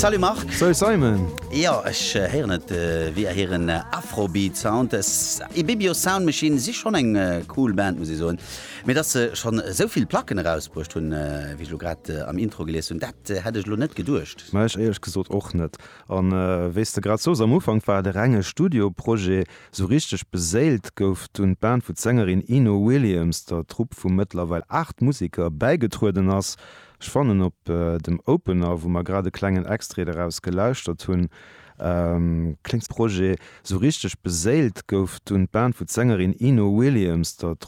Salut Marc. Salut Simon. Jo, ech héieren et via hiren Afrobeat Sound. Ibibio Sound Machine si schonn eng cool Band, muss ech soen. Mee dass se schonn esou vill Placken erausbruecht hunn, wéi ech elo grad am Intro gelies hunn, dat hätt ech elo net geduecht. Ma ech éierlech gesot och net. An wéi s de grad soos, am Ufank war et e renge Studioprojet. Sou richteg beséilt gouf dunn d'Band, wou d'Sängerin Eno Williams der Trupp vu mëttlerweil 8 Museker bäigetrueden ass. Ech fannen op dem Opener, wou mer grad e klengen Extrait eraus gelauschtert hunn, kléngt. Projet. Sou richteg beséilt gouf dunn d'Band, wou d'Sängerin Eno Williams der.